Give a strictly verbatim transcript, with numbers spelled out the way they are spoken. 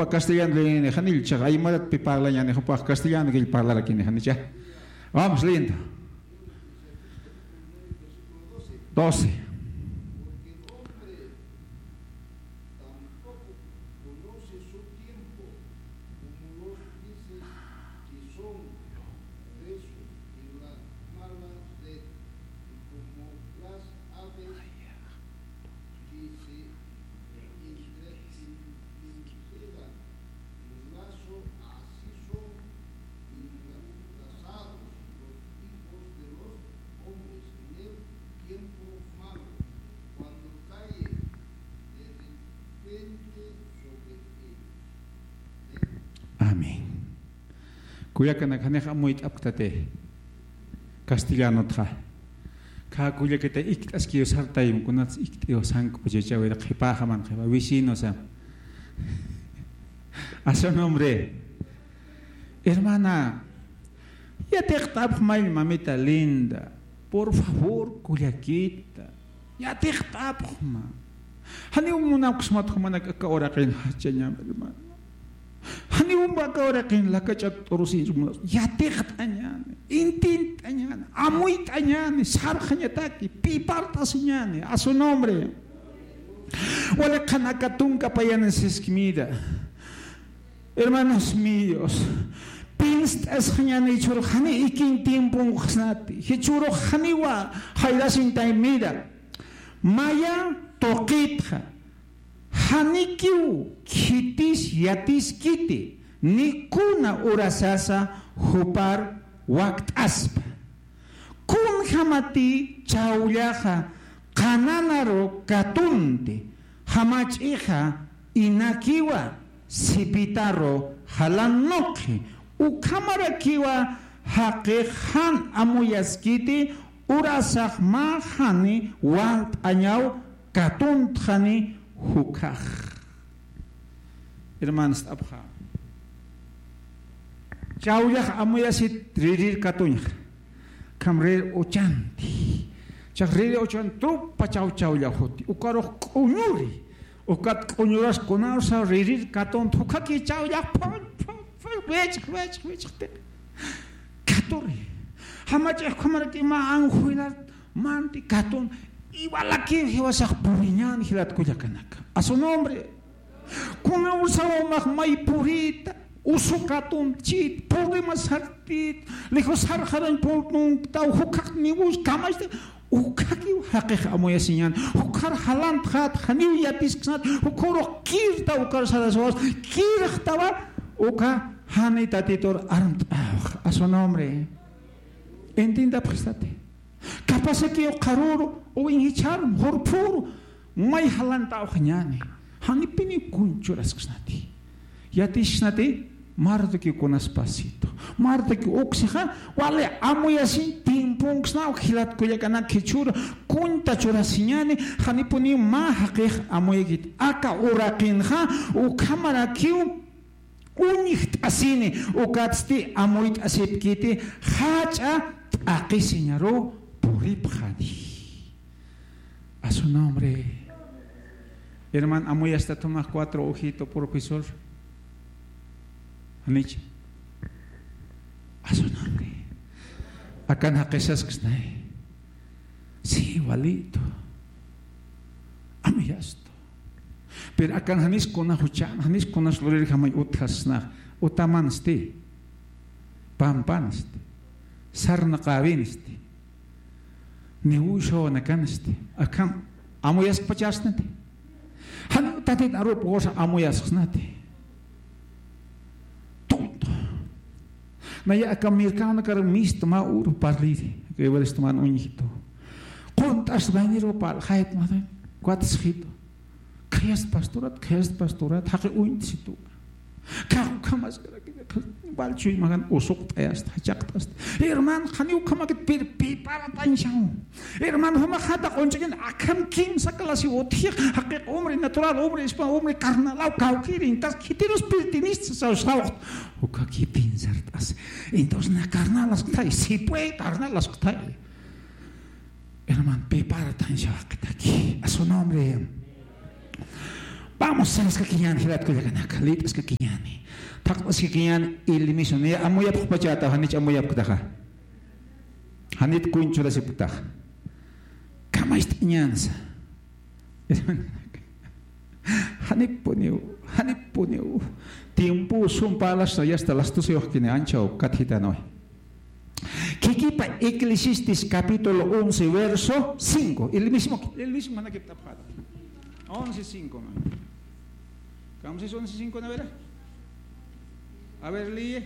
Jupa castellano leeni, janicha aymaratpi parlañäni, jupax castellano killa parlarakini, janicha. Vamos, lindo. Doce. Amén. Kullakanak, janix amuyt'apktati castellanotxa. Khä kullakita ikt'askiw sartayim, kunats ikt'iw sank'u puchachawir qhipaxaman qhipa vecinosam. A su nombre. Hermana, yatiqt'apxmayl, mamita linda. Por favor, kullakita. Yatiqt'apxma. Janiw munapksmat jumanak aka uraqin jachañam, hermano. Janiw aka uraqin lakach'ak t'urusinch munaps. Yatiqt'añäni, intint'añäni, amuyt'añäni, sarxañataki, pipart'asiñäni, a su nombre. Wali qhan aka tunka payanin siskmira. Hermanos míos, pinst'asxañäni jichhürux jani ikin tiemponksnati, jichhürux janiwa jayrasin taymira. Maya tuqitxa, janikiw khitis yatiskiti, ni kuna urasasa jupar wakt'aspa. Kunjamati chawllaxa qananaru katunti, jamach'ixa inakiwa sipitaru jalan nuqi, ukhamarakiwa jaqix jan amuyaskiti, urasax mä jani walt'añaw katuntxani jukhax. Hermanost'apxa. Chawllax amuyasit ririr katuñxa. Kham rir uchanti. Chax rir uchan trupa chaw chawllax juti. Ukarux k'uñuri. Ukat k'uñuras kunarsa ririr katunt, jukhaki chawllax phun, phun, phun, wichx, wichx, wichxti. Katuri. Jamach'ix ukhamaraki mä anjuelar manti katun. Iwalaki jiwasax puriñän jilat kullakanaka. A su nombre. Kuna usawa umax may purita, usu katunchit, problema sartit, lejos sarxarañ puntuntaw, jukhax niwus kamachta, ukhakiw jaqix amuyasiñän, jukhar jalantxat, janiw yatisksnat, jukhürux kirta ukar saraswas, kirxtawa, uka jani Tatitur armt'awx, a su nombre. Entiendapxistati. Kapasakiw qharüru, uwiñ jichhar, jurphüru, may jalantawxañäni. Janipiniw kuñ churasksnati. Yatisksnati, martukiw kunaspasitu. Martukiw uksixa, wali amuyasiñ tiemponksnaw jilat kullakanak jichhüru, kuñta churasiñäni, janipuniw mä jaqix amuyakit. Aka uraqinxa, ukhamarakiw, uñjt'asini, ukatsti amuyt'asipkiti, jach'a t'aqhisiñaru puripxani. A su nombre. Herman, amuyastat jumax cuatro ojito, profesor. Janicha. A su nombre. Akan jaqisasksnay. Sí, igualito. Amuyastu. Pero akan janis kuna juchan, janis kunas lurir jamay utjasna, utamansti, pampansti, sarnaqäwinsti, niwshaw nakansti, akham amuyaskpachasnati. Jan tatit arup gosa amuyasksnati. Tonto. Naya aka mercadonakar mist mä uru parliri, aka iwalist man uñjitu. Qunt'as bañiru pal, jayt matan, cuates jitu. Khayast pastorat, khayast pastorat, jaqi uñt'situ. Kaw kamaskarakina, bal chuy magan usuqt'ayast, jachaqt'ast. Hermano, qhaniw kamakit pir, piparatañshaw. Hermano, jama jata q'unch'akin, akham kimsa clase utji, jaqiq hombre natural, hombre espiritual, hombre carnalaw, kawkiri, entonces, khitirus pertenista, saw, saw. Ukaki pensart'as. Entonces, na carnalaskutay, si puede, carnalaskutay. Hermano, piparatañshaw jaqitaki. A su nombre. Vamos, saraskakiñän jilat kullakanaka, lit'askakiñäni. Thaqt'askakiñän ilimisu, niya amuyapxpachätaw, janich amuyapktaxa. Janit kuñchurasipktaxa. Kamacht'añänsa. Janipuniw, janipuniw. Tiempo sum parlasta, ya está las doce wajkini anchaw katjitanwa. Kikipa Eclesiastes capítulo once, verso cinco. El mismo, el mismo manakiptapxata. Once cinco, man. ¿Cómo se dice once cinco, no, verdad? A ver, lee.